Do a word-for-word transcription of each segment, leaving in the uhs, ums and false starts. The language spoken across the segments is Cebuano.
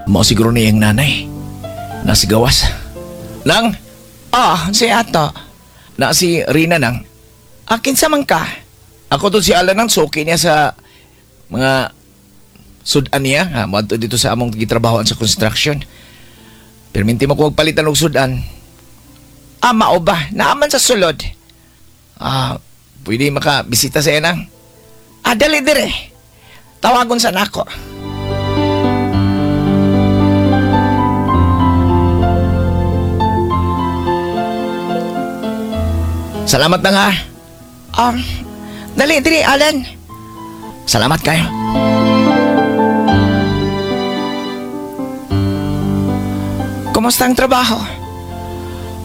Mao siguro ni iyang nanay. Nasigawas. Nang? Ah, si ato. Na si Rina nang. Akin sa man ka? Ako to si Alan nang suki niya sa mga sudan niya. Ha, moadto dito sa among gitrabahoan sa construction. Pero minti mo ko magpalitan og sudan. Ah, mao ba? Naaman sa sulod. Ah, pwede makabisita sa nang. Ah, dali dire. Tawagon sa nako. Salamat nang ha. Ah, dali dire, Alan. Salamat kayo. Kumusta ang trabaho?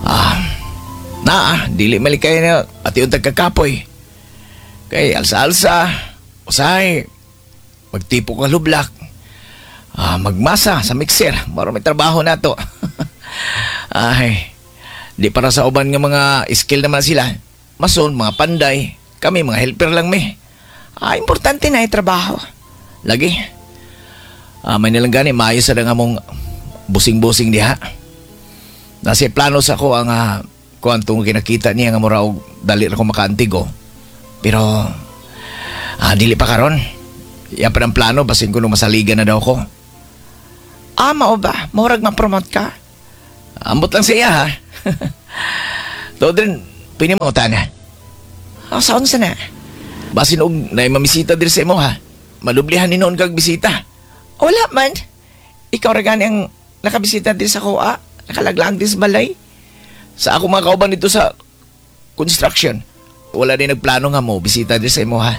Ah, naa, dili malikay na ati yung tagkakapoy. Kay alsa-alsa, usahay, magtipo ka lublak, ah, magmasa sa mixer, maro may trabaho na to. Ay, di para sa uban nga mga skill naman sila. Mason, mga panday, kami mga helper lang mi. Ah, importante na yung trabaho. Lagi. Ah, may nilang gani, maayos sa nga mong busing-busing diha. Nasa plano sa ko ang uh, kuan tungod kinakita niya nga mura og dali ra ko makaantigo. Pero ah, dili pa karon. Yan pa ang plano basin ko nung masaligan na daw ko. Ah, mao ba? Murag ma-promote ka? Ambot lang sa iya ha. Tuod rin, pwede mo na. Ah, saan sa na? Basin og naay mamisita diri sa imo ha. Malublihan ni noon kag bisita. Wala man. Ikaw ra gani ang nakabisita din sa kuha. Nakalaglag din sa balay. Sa ako mga kauban dito sa construction, wala din nagplano nga mo bisita diri sa imo ha.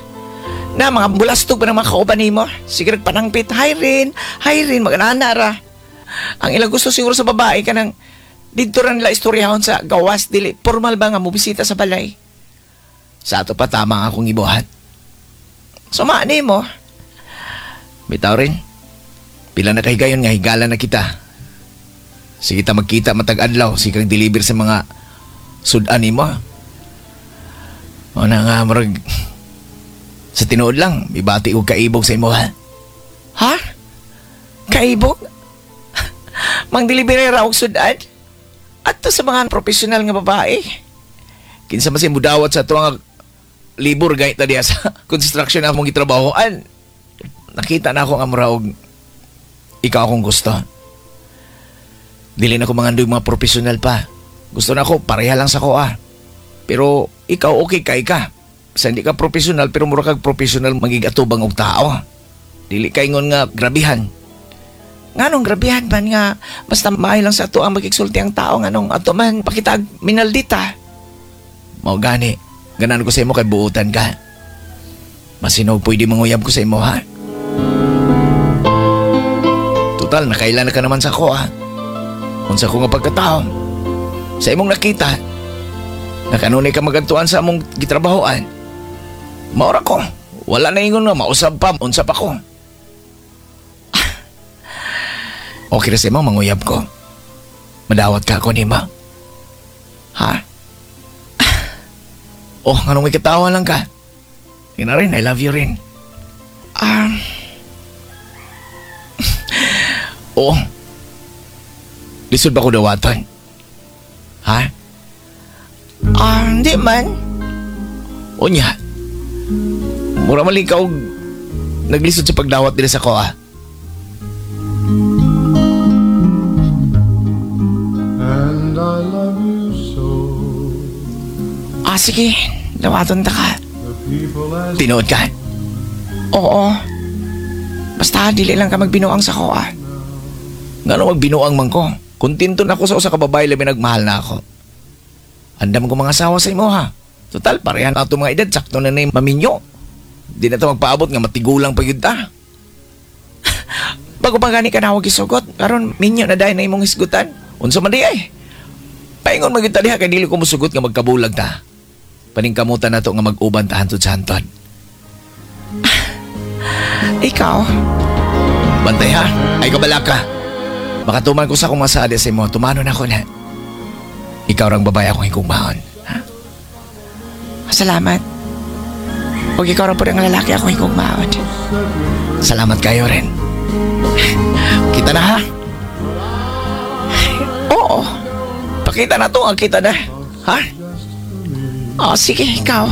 Na, mga bulastog pa ng mga kauban nimo. Sige, nagpanangpit. Hi rin, hi rin, mag-anana ra. Ang ilang gusto siguro sa babae ka ng dito ra nila istoryahon sa gawas, dili. Formal ba nga mo bisita sa balay? Sa ato pa tama ang akong ibuhat. Suma nimo. Bitaw rin. Pila na kay gayon nga higala na kita. Sige ta magkita matag adlaw, sige kang deliver sa mga sudan nimo. O na nga murag sa tinuod lang, ibati og kaibog sa imo ha. Ha? Kaibog? Mang deliver ra og sudan? Adto sa mga profesional nga babae. Kinsa man si mudawat sa ato nga libur gayt ta diha sa construction among gitrabahoan. Nakita na ako nga mura og ikaw akong gusto. Dili na ko mangandoy mga profesional pa. Gusto na ako, pareha lang sa ko ah. Pero ikaw okay kay ka. Sa hindi ka profesional pero mura kag profesional magigatubang og tao. Dili ka ingon nga grabihan. Nganong grabihan man nga basta maayo lang sa ato ang magigsulti ang tao nganong ato man pakitag minaldita. Mao gani, ganan ko sa imo kay buutan ka. Masinog pwede manguyab ko sa imo ha. Total, nakailan na ka naman sa ko ha. Unsa ko nga pagkatao. Sa imong nakita, nakanunay ka magantuan sa among gitrabahoan. Maura ko. Wala na ingon nga, mausab pa, unsa pa ko. Okay ra sa imo, manguyab ko. Madawat ka ako nima. Ha? Oh, anong may katawa lang ka? Yun na rin, I love you rin. Ah, Oo. Lisod ba ko dawatan? Ha? ah, hindi man. O niya. Mura man ka og naglisod sa pagdawat diri sa ko ah. And I love you so. Ah, sige. Dawaton ta ka. The people as Tinuod ka. Oo. Basta dili lang ka magbinuang sa ko ah. Ngano magbinuang man ko. Kontento na ako sa usa ka babae labi nagmahal na ako. Andam ko mga asawa sa imo ha. Total parehan ato mga edad sakto na na maminyo. Di na to magpaabot nga matigulang pa gyud ta. Bago pa gani ka na isugot, karon minyo na dahil na imong hisgutan. Unsa man di ay? Paingon man gyud ta diha kay dili ko mosugot nga magkabulag ta. Paningkamutan nato nga mag-uban ta hantod sa hantod. Ikaw, Bantay ha, ay kabala ka. Makatuman ko sa akong masada sa imo, tumanon ako na. Ikaw rang babae akong higugmaon. Ha? Salamat. Huwag ikaw rin po ang lalaki akong higugmaon. Salamat kayo rin. Kita Kita na ha? Oo. Pakita na to, ang kita na. Ha? Oh, sige, ikaw.